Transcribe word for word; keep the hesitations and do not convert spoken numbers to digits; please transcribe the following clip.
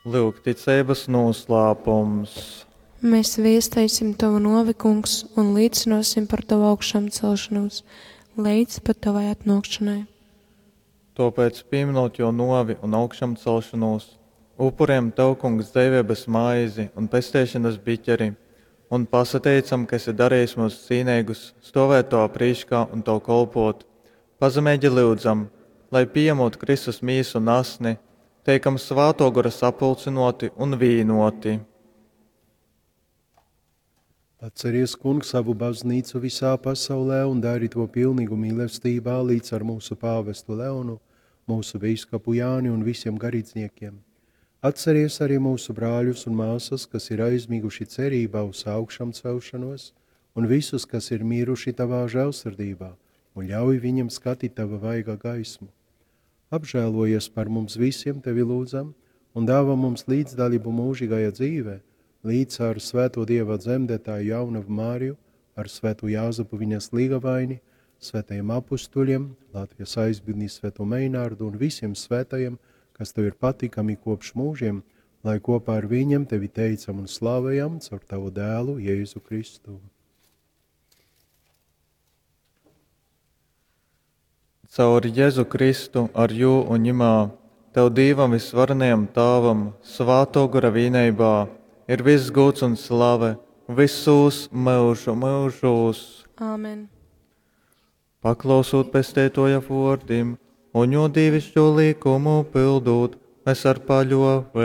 Lyuk, ticeibas nūslāpums. Mēs viesteisim Tavu nuovi, Kungs, un līcynuosim par Tavu augšāmcelšanos leidz pat Tavai atnuokšonai. Tōpēc, pīmynūt Jō nōvi un augšamcelšonūs, upurejam Tev, Kungs, dzeiveibas maizi un pesteišonas biķeri un pasateicam, ka esi darejis myus cīneigus stōvēt Tovā prīškā un Tev kolpōt. Pazemeigi lyudzam, lai, pījamūt Kristus mīsu un asni, teikam Svātō Gora sapulcynōti un vīnōti. Atceries, Kungs, savu baznīcu visā pasaulē un dari to pilnīgu mīlestībā līdz ar mūsu pāvestu Leonu, mūsu bīskapu Jāni un visiem garīdzniekiem. Atceries arī mūsu brāļus un māsas, kas ir aizmiguši cerībā uz augšām celšanos, un visus, kas ir miruši tavā žēlsirdībā, un ļauj viņiem skatīt tava vaiga gaismu. Apžēlojies par mums visiem, tevi lūdzam, un dāvā mums līdzdalību mūžīgajā dzīvē, līdz ar svēto Dieva dzemdētāju jaunavu Māriju, ar svēto Jāzepu viņas līgavaini, svētajiem apustuļiem, Latvijas aizbildni svēto Meinārdu un visiem svētajiem, kas tev ir patīkami kopš mūžiem, lai kopā ar viņiem tevi teicam un slavējam caur tavu dēlu Jēzu Kristu. Caur Jēzu Kristu, ar jū un ņemā, Tev Dīvam visvarenajam Tāvam, Svātō Gora vīneibā, ir viss gūds un slave visūs myužu myužūs. Āmen. Paklausūt pesteitoja vōrdim un jō dīvišķo likumu pildūt, mēs ar paļōveibu